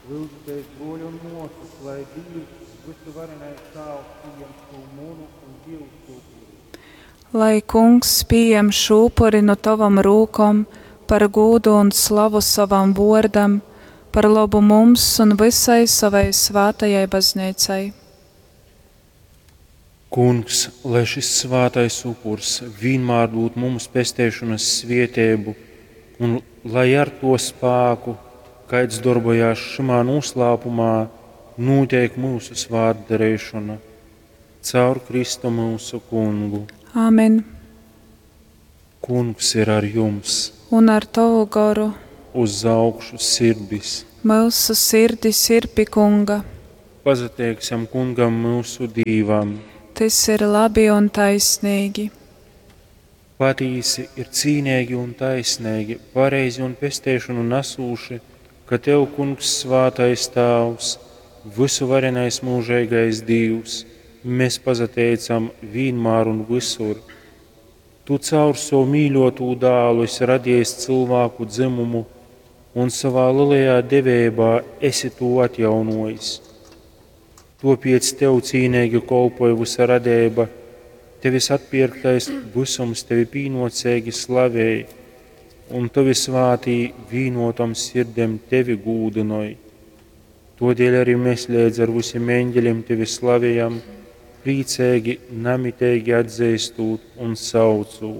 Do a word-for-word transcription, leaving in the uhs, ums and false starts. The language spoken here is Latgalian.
Lyudzitēs, bruoļi un muosys, lai Dīvs, vysuvarenais Tāvs, pījem šū munu un jyusu upuri. Lai Kungs pījem šū upuri nu tovom rūkom par gūdu un slavu sovam vuordam, par lobu mums un vysai sovai svātajai Bazneicai. Kungs, lai šis svātais upurs vīnmār dūd mums pesteišonas svieteibu un lai ar tō spāku, kaids dorbojās šymā nūslāpumā, nūteik myusu svātdareišona. Caur Kristu myusu Kungu. Āmen. Kungs ir ar jums. Un ar tovu goru. Uz augšu sirdis. Myusu sirdis ir pi Kunga. Pasateiksim Kungam myusu Dīvam. Tys ir labi un taisnīgi. Patīsi ir cīneigi un taisneigi, pareizi un pesteišonu nasūši, ka Tev, Kungs, svātais Tāvs, vysuvarenais myužeigais Dīvs, mēs pasateicam vīnmār un vysur. Tu caur sovu mīļotū dālu esi radiejis cylvāku dzymumu un savā lielajā deveibā esi tū atjaunojis. Tuopiec Tev cīneigi kolpoj vysa radeiba, Tevis atpierktais vysums Tevi pīnuoceigi slavej, un Tovi svātī vīnotom sirdem Tevi gūdynoj. Todēļ arī mēs leidz ar visiem eņģeļiem Tevi slavējam, prīcīgi, namiteigi atzīstot un saucot.